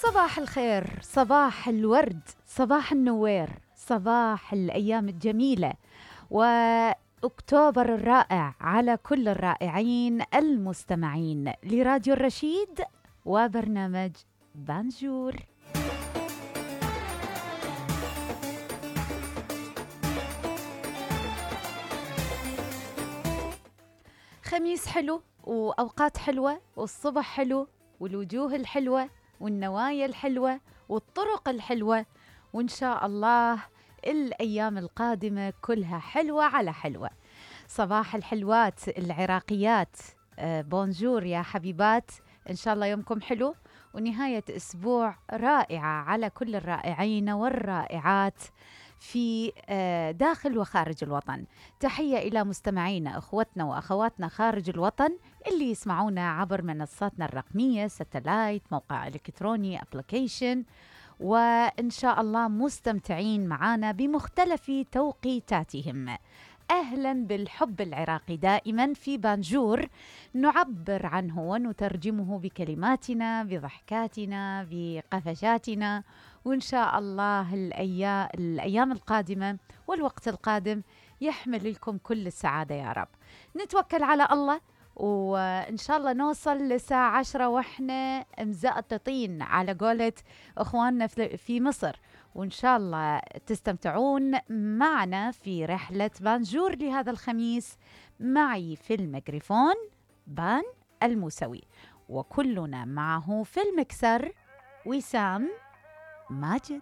صباح الخير، صباح الورد، صباح النوير، صباح الأيام الجميلة، وأكتوبر الرائع على كل الرائعين المستمعين لراديو الرشيد وبرنامج بانجور. خميس حلو وأوقات حلوة والصبح حلو والوجوه الحلوة والنوايا الحلوة والطرق الحلوة، وإن شاء الله الأيام القادمة كلها حلوة على حلوة. صباح الحلوات العراقيات، بونجور يا حبيبات، إن شاء الله يومكم حلو ونهاية أسبوع رائعة على كل الرائعين والرائعات في داخل وخارج الوطن. تحية إلى مستمعينا أخوتنا وأخواتنا خارج الوطن اللي يسمعونا عبر منصاتنا الرقمية، ستلايت، موقع إلكتروني، أبليكيشن، وإن شاء الله مستمتعين معنا بمختلف توقيتاتهم. أهلا بالحب العراقي دائما في بانجور، نعبر عنه ونترجمه بكلماتنا، بضحكاتنا، بقفشاتنا، وإن شاء الله الأيام القادمة والوقت القادم يحمل لكم كل السعادة يا رب. نتوكل على الله وإن شاء الله نوصل لساعة 10 وإحنا مزقططين على قولة أخواننا في مصر، وإن شاء الله تستمتعون معنا في رحلة بانجور لهذا الخميس. معي في الميكروفون بان الموسوي، وكلنا معه في المكسر وسام ماجد.